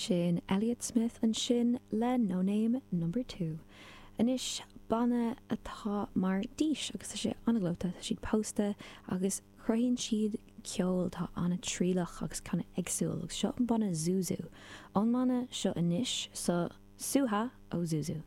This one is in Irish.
Sin Elliott Smith ansin le No Name Number 2. Anois, banna atá mar dís agus tá sé an-ghleoite, tá siad pósta agus cruthaíonn siad ceol atá an-trialach agus kind of éagsúil agus seo an banna Zuzu. Ón mbanna seo anois, so Suha ó Zuzu.